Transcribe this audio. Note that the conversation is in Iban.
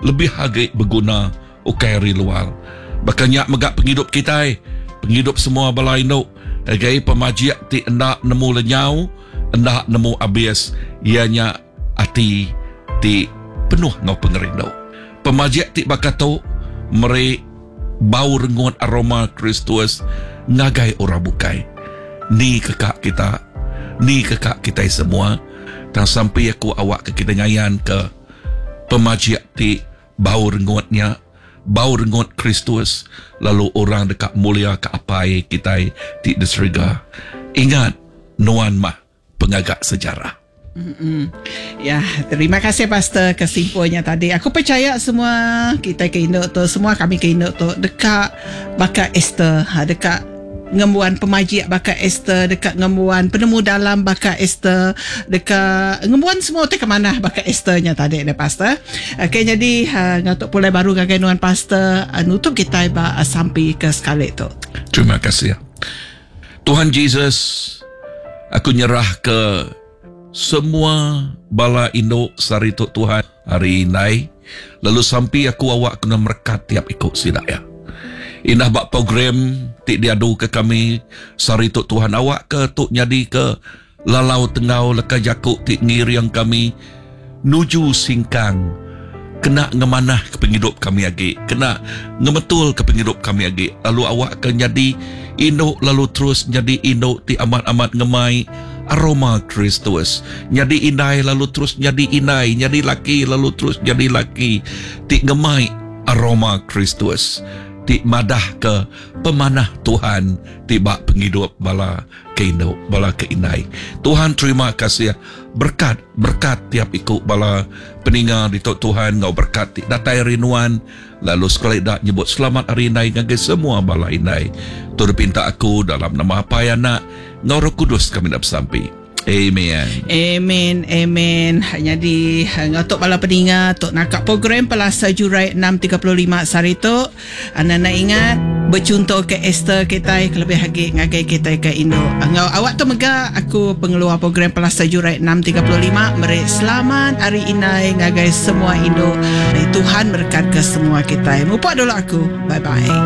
lebih agi beguna ukai ari luar. Baka nya mega pengidup kitai, pengidup semua bala indu ngagai pemajik ti enda nemu lenyau, enda nemu abis iya nya ati ti penuh enggau pengerindu. Pemajik ti baka tu meri bau rengut aroma Kristus ngagai orang bukai. Ni ke ka kita, ni ke ka kitai semua tang sampi aku awakka kitai ngayanka pemajik ti bau rengut nya. Bau rengut Kristus, lalu orang deka muliaka Apai kitai ti di serega. Ingat, nuan mah pengaga sejarah. Mm-mm. Ya, terima kasih pastor ke simpulnya tadi. Aku percaya semua kita ke indu tu, semua kami ke indu tu deka baka Esther, ha, deka ngembuan pemajik baka Esther, deka ngembuan penemu dalam baka Esther, deka ngembuan semua utai ke manah baka Esther nya tadi deh pastor. Okey nyadi uh, enggau tu pulai baru ngagai nuan pastor uh, nutup kitai ba uh, sampi ke sekali tu. Terima kasih. Tuhan Jesus, aku nyerah ke semua bala indu sehari tu Tuhan hari indai lalu sampi aku awak kena merekat tiap iku sida ya. Indah ba program ti diadu ke kami sehari tu Tuhan awak ke tu nyadi ke lalau tenggau leka jaku ti ngiring kami nuju singkang kena ngemanah ke pengidup kami agi kena ngemetul ke pengidup kami agi lalu awak ke nyadi indu lalu terus nyadi indu ti amat-amat ngemai aroma Kristus nyadi indai lalu terus nyadi indai nyadi laki lalu terus nyadi laki ti ngemai aroma Kristus ti madah ke pemanah Tuhan ti ba pengidup bala ke indu bala ke indai. Tuhan terima kasih berkat berkat tiap iku bala peninga ditu Tuhan enggau berkat ti datai ari nuan lalu sekali da nyebut selamat hari indai ngagai semua bala indai. Tu dipinta aku dalam nama Apai Anak enggau Roh Kudus kami enda besampi. Amen. Amen. Amen. Jadi enggau tu bala peninga tu naka program Pelasa Jurai 6.35 sehari tu. Anda ingat bechunto ke Esther kitai kelebih agi ngagai kitai ke indu. Enggau awak tu mega aku pengeluar program Pelasa Jurai 6.35 meri selamat hari indai ngagai semua indu. Tuhan merekat ke semua kitai. Mupuk dulu aku. Bye bye.